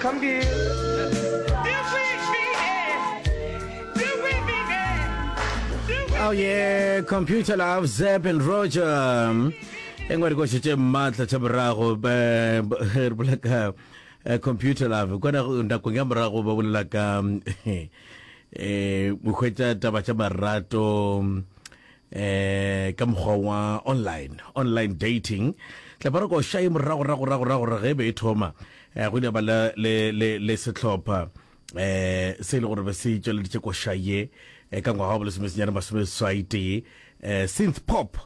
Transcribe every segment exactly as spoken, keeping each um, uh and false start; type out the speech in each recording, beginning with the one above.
Computer. Oh yeah, Computer Love, Zeb and Roger. E nngwe dikoša tše maatla tša morago re bolela ka eh, Computer Love. Kwana nakong ya morago ba bolela ka eh o hwetša taba tša marato eh ka mokgwa wa online, online dating. Tla ba re koša e morago rago rago rago ge be e thoma eh, go ile ba le le le, le sehlopha eh se e le gore be se tšweleditše koša ye eh, ka ngwaga wa bolesomesenyane masomeseswai tee eh, synth pop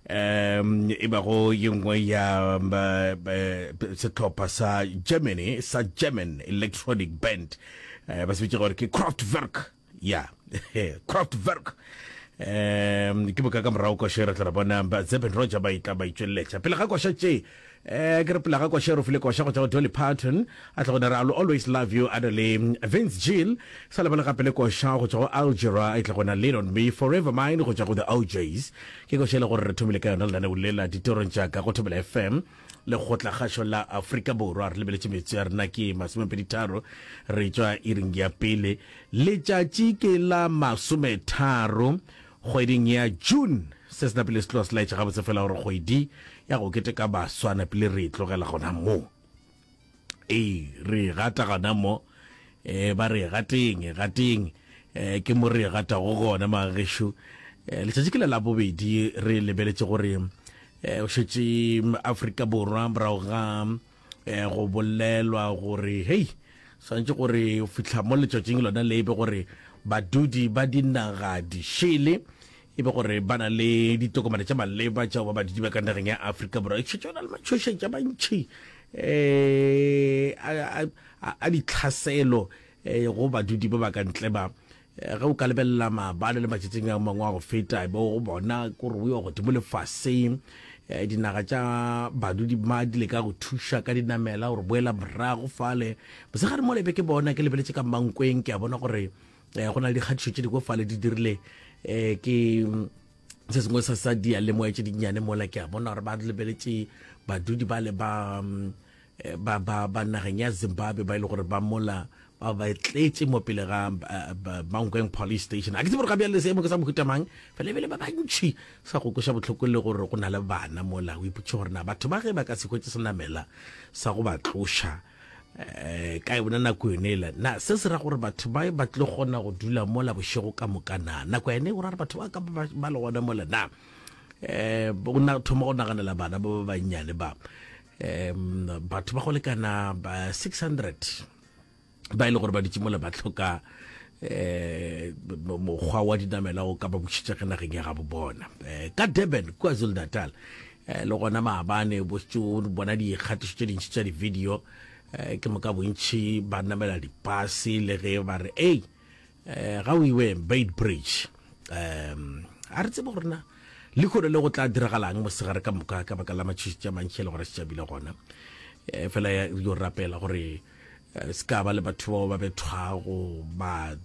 um e bago ye nngwe ya um, eh, sehlopha sa Germany sa German electronic band eh, ba se bitša gore ke Kraftwerk ya Kraftwerk um ke boka ka morago koša re tla re bona ba Zeb and Roger ba itla ba itšweleletša pele ga koša tše eh ke re pele ga koša re file koša go tšwa go Dolly Parton a tla go dira I'll always love you a na le Vince Gill sa lebale gape le koša go tšwa go Algera a tla gona Lean on Me Forever Mine go tšwa go The O'Jays ke koša e le gore re thomile ka yona lenaneo le la ditorong tša ka go Thobela F M lekgotlakgašo la Afrika Borwa. Re lebeletše metsotso ya rena ke masomepedi tharo re tšwa iring ya pele, letšatši ke la masometharo kgweding ya June. Se se napile se tloga se laetša gabotse fela gore kgwedi ya go keteka baswa napile re e tlogela gona mo, ee re gata gona mo um ba re gateng gateng um ke mo re gatago gona magešo. um letšatši ke le la bobedi, re lebeletše gore um o šetše Afrika Borwa morago ga um go bolelwa gore hei swantše gore o fihla mo letšatšing lona le be gore badudi ba dinaga dišele e be gore ba na le ditokomane tša maleba tša go ba badudi ba ka nageng ya Afrika Borwa. E šetše na le matšhošetša mantšhi um a ditlhaselo um go badudi ba ba ka ntle ba. Ge o ka lebelela maabane le matšatšing a mangwe a go feta, bo go bona kore o yo godimo lefaseng dinaga tša badudi ma di leka go thuša ka dinamela gore boela morago fale. Mosegare mo lebe ke bona ke lebeletše ka Mankweng, ke a bona gore go na le dikgatišo tše dingwe fale di dirile um ke se sengwe sa sa diyalemoya tše dinnyane mola, ke a bona gore ba lebeletše badudi ba le ba ba ba ba nageng ya Zimbabwe ba ile gore ba mola ba ba tletše mo pele ga Mankweng Police Station. A ke tsebe gore ga bjale seemo ke sa mohuta mang, fela ebile ba bantši sa go kweša bohloko le gore go na le bana mola. O ipotše gore na batho ba ge ba ka se hwetše senamela sa go ba tloša um ka yona nako yone ela, na se se ra gore batho ba ba tlo kgona go dula mola bošego ka moka? Na nako yane go ra gore batho ba ka ba le gona mola? Na um o thoma go naganela bana ba ba bannyane ba um batho ba go lekana ba six hundred ba e le gore ba dutše mola ba hloka um mokgwa wa dinamela go ka ba bušetša ka nageng ya gabo bona. um ka Durban, KwaZulu Natal, um le gona maabane bo bona dikgatišo tše dintši tša di-video um ke moka bontši ba namela dipase le ge ba re ei um ga o iwe Beitbridge. um a re tsebe gore na lehono le go tla diragalang mosegare ka moka ka baka la matšhošetši a mantši e le gore šetšabile gona. um fela yo rapela gore se ka ba le batho bao ba bethwago ba